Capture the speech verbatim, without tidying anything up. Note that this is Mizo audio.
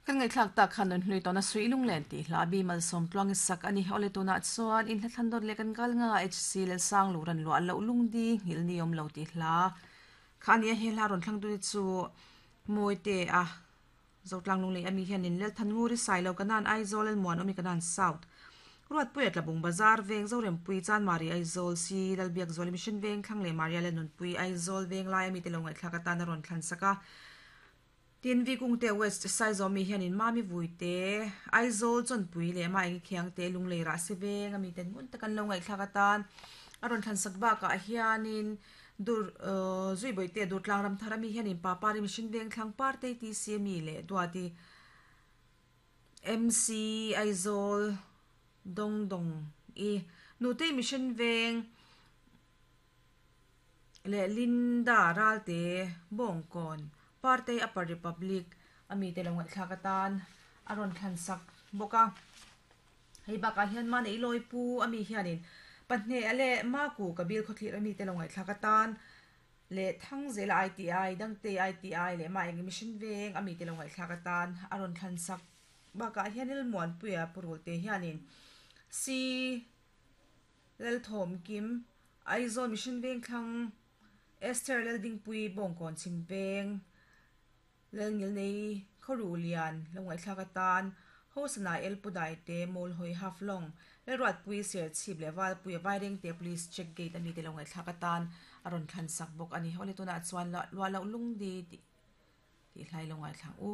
Kan ngai thlak tak khan nun hlui tawna sui lunglen tih hla bi malsawm tluang sak ani ole tuna chuan in hla thlan dawt leh kan kal nga H C lel sang luran lua lo lungdi ngil ni awm lo ti hla khania he hla ron thlang tu chu moi te a zotlang lung lei ami hian in lel than nguri sai lo kanan Aizawl el muan omi kanan South ruat pui tlabung bazar veng zorem pui chan mari Aizawl si lalbiak zoli mission veng thlang le maria le nun pui Aizawl veng lai ami te lo ngai thlak atan a ron thlan saka. Tin vi kung te West sai zo mi hian in mami vui te Aizawl chon pui le ma eng khiang te lung lei ra se veng ami ten ngun takan lo ngai thlak atan a ron thlan sak ba ka hianin dur zui boi te dur tlang ram thar ami hian in papari mission veng thlang par te ti c mi le duati M C Aizawl dong dong i nu te mission veng le Linda Ralte Bongkon Parte Upper Republic ami te lo ngai thlak atan a ron thlan sak boka. Hei baka hian ma nei loi pu ami hianin pahne ale ma ku kabil khothlir ami te lo ngai thlak atan le thang zela I T I dangte I T I le ma eng mission veng ami te lo ngai thlak atan a ron thlan sak baka hian il muan puia purul te hianin si lel thom kim Aizawl mission veng thlang Esther lel ding pui Bongkon chim veng lel ngil nei khoru lian lo ngai thlak atan hosana el pudai te mol hoi half long le ruat pui ser chip le wal pui vaireng te police check gate ani te lo ngai thlak atan aron thlan sak bok ani. Hole tuna chuan lua lo lung di ti ti hlai lo ngai thlang u.